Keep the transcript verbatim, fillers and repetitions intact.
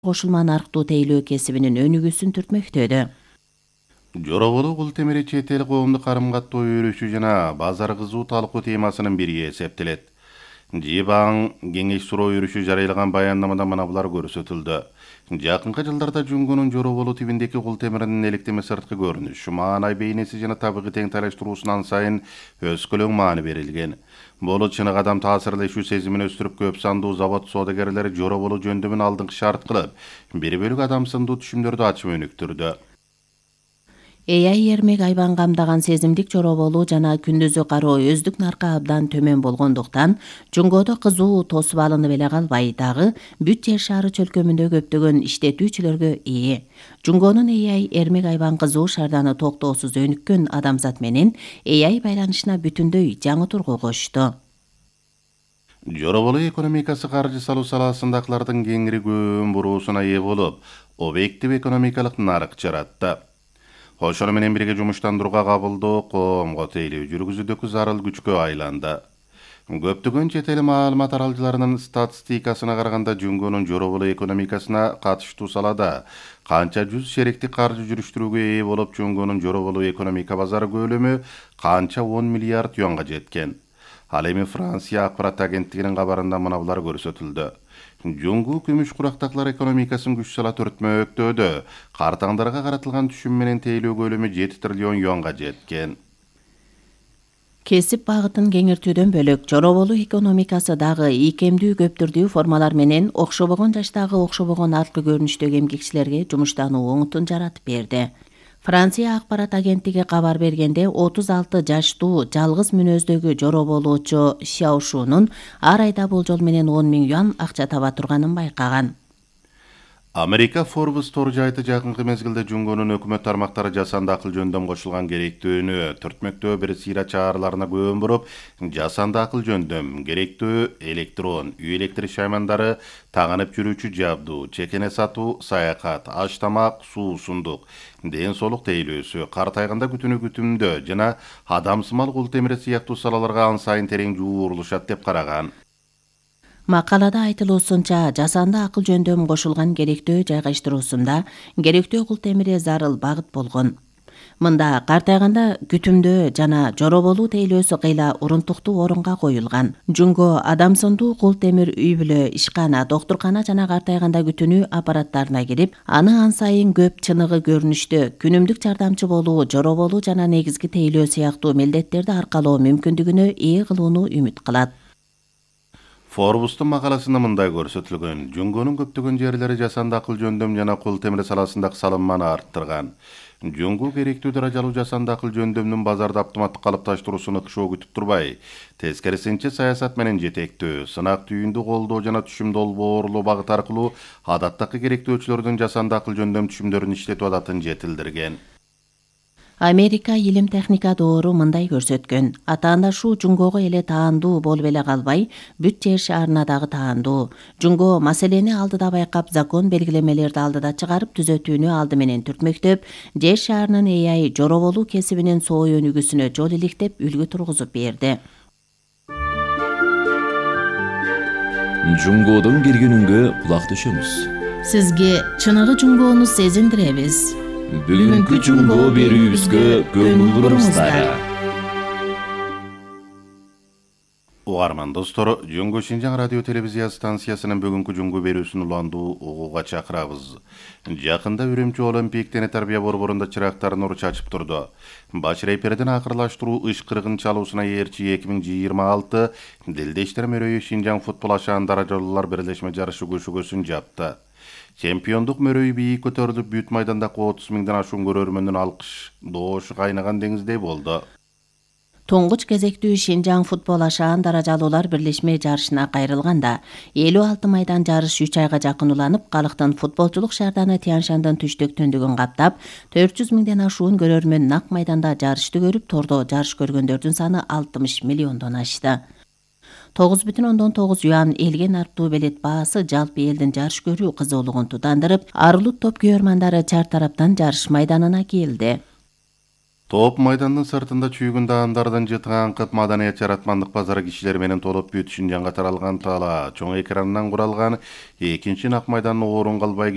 кошулма нарктуу тейлөө кесибинин өнүгүүсүн түртмөктөдө. Жороболу кул темири чет эл коомдук карым-каттоо өрүшү жана базар кызуу талкуу темасынын бири эсептелет. Жибаң кеңеш суроо өрүшү жарыялаган баяндамада мына булар көрсөтүлдү. Жакынкы жылдарда Жунгунун Жороболу тибиндеки кул темиринин электеме сырткы көрүнүшү, маанай бейнеси жана табигый тең тайлаштыруусунан сайын өскөлөң маани берилген. Бул чынык адам таасирлешүү сезимин өстүрүп, көп сандуу завод соодагерлери Жороболу жөндөмүн алдыңкы шарт кылып, бир бөлүк адам сындуу түшүмдөрдү ачып өнүктүрдү. А I эрмек айбан камдаган сезимдик жороболу жана күндүзү кароо өздүк наркы абдан төмөн болгондуктан Жунгодо кызуу тосуп алынып эле калбай, дагы бүт жер шары чөлкөмүндө көптөгөн иштетүүчүлөргө ээ. Жунгонун А I эрмек айбан кызуу шарданы токтоосуз өнүккөн адамзат менен А I байланышына бүтүндөй жаңы тургу кошту. Жороболу экономикасы каржы салуу саласындагылардын кеңири көөн буруусуна ээ болуп, объектив экономикалык нарык жаратты. Ошону менен бирге жумуштандырууга кабылдоо, коомго тейлөө жүргүзүүдөгү зарыл күчкө айланды. Көптөгөн чет эл маалымат аралжыларынын статистикасына караганда Жунгунун Жороболу экономикасына катыштуу салада канча жүз шеректик каржы жүрүштүрүүгө ээ болуп, Жунгунун Жороболу экономика базары көлөмү канча он миллиард юанга жеткен. Ал эми Франция акпарат агенттигинин кабарында мына булар көрсөтүлдү. Жунгу күмүш курактакылар экономикасын күч сала төртмөктөөдө, картаңдарга каратылган түшүм менен тейлөө көлөмү жети триллион юанга жеткен. Кесип багытын кеңиртүүдөн бөлөк Жороболу экономикасы дагы ийкемдүү көптүрдүү формалар менен окшобогон жаштагы окшобогон арткы көрүнүштөгү эмгекчилерге жумуштануу оңутун жаратып берди. Франция акпарат агенттиги кабар бергенде отуз алты жаштуу жалгыз мүнөздөгү жороболуучу Сяошунун ар айда болжол менен он миң юан акча таба турганын байкаган. Америка Forbes тор жайты жакынкы мезгилде Жунгунун өкмөт тармактары жасанды акыл жөндөм кошулган керектүүнү түртмөктөө бир сыйра чаараларына көөн буруп, жасанды акыл жөндөм, керектүү электрон, үй электр шаймандары, тагынып жүрүүчү жабдуу, чекене сатуу, саякат, аш тамак, суу, сундук, ден соолук тейлөөсү, картайганда күтүүнү күтүмдөө жана адамсымал кул темири сыяктуу салаларга ан сайын терең жуурулушат деп караган. Макалада айтылуусунча, жасанды акыл жөндөм кошулган керектөө жайгаштыруусунда керектөө кул темири зарыл багыт болгон. Мында картайганда күтүмдөө жана жороболуу тейлөөсү кыйла урунтуктуу орунга коюлган. Жунго адамсындуу кул темир үй бүлө, ишкана, доктуркана жана картайганда күтүнүү аппараттарына кирип, аны ан сайын көп чыныгы көрүнүштө күнүмдүк жардамчы болуу, жороболуу жана негизги тейлөө сыяктуу милдеттерди аркалоо мүмкүндүгүнө ээ кылууну үмүт кылат. Forbes'тун макаласында мындай көрсөтүлгөн. Жунгунун көптөгөн жерлери жасанды акыл жөндөм жана кул темир саласындагы салымманы арттырган. Жунгу керектүү даражалуу жасанды акыл жөндөмдүн базарда автоматтык калыпташтыруусун ыкшоо күтүп турбай, тескерисинче саясат менен жетектөө, сынак түйүндү колдоо жана түшүм долбоорлоо багыт аркылуу адаттагы керектөөчүлөрдүн жасанды акыл жөндөм түшүмдөрүн иштетип ататын жетилдирген. Америка илим техника доору мындай көрсөткөн. Атаандашуу Жунгого эле таандуу болуп эле калбай, бүт жер шаарына дагы таандуу. Жунго маселени алдыда байкап, закон белгилемелерди алдыда чыгарып, түзөтүүнү алды менен түртмөктөп, жер шаарынын А I жороболуу кесибинин соо өнүгүүсүнө жол иликтеп, үлгү тургузуп берди. Жунгодон келгенүнгө кулак төшөмүз. Сизге чыныгы Жунгону сезиндиребиз. Бүгүнкү Жунго берүүбүзгө көңүл буруңуздар. Угарман достор, Жунгу Шинжаң радио телевизия станциясынын бүгүнкү Жунгу берүүсүн уландуу угууга чакырабыз. Жакында Үрүмчү Олимпик дене тарбия борборунда чырактар нур чачып турду. Баш рейпердин акырлаштыруу ышкырыгын чалуусуна ээрчи эки миң жыйырма алты Дилдештер мөрөйү Шинжаң футбол ашаан даражалуулар бирлешме жарышы көшөгөсүн жапты. Чемпиондук мөрөйү бийик көтөрүлүп, бүт майдандагы отуз миңден ашуун көрөрмөндүн алкыш доошу кайнаган деңиздей болду. Тоңгуч кезектүү Шинжаң футбол ашаан даражалуулар бирлешме жарышына кайрылганда элүү алты майдан жарыш үч айга жакын уланып, калктын футболчулук шаарданы Тянь-Шандын түштүк түндүгүн каптап, төрт жүз миңден ашуун көрөрмөн нак майданда жарышты көрүп, тордо жарыш көргөндөрдүн саны алтымыш миллиондон ашты. тогуз бүтүн ондон тогуз юан элге нарттуу билет баасы жалпы элдин жарыш көрүү кызуулугун тутандырып, арылут топ күйөрмандары чар тараптан жарыш майданына келди. Топ майдандын сыртында чүйгүн даамдардан жытыган кып маданият жаратмандык базары кишилер менен толуп бүтүшүн жаңга таралган тала чоң экранынан куралган экинчи Ак майдандын орун калбай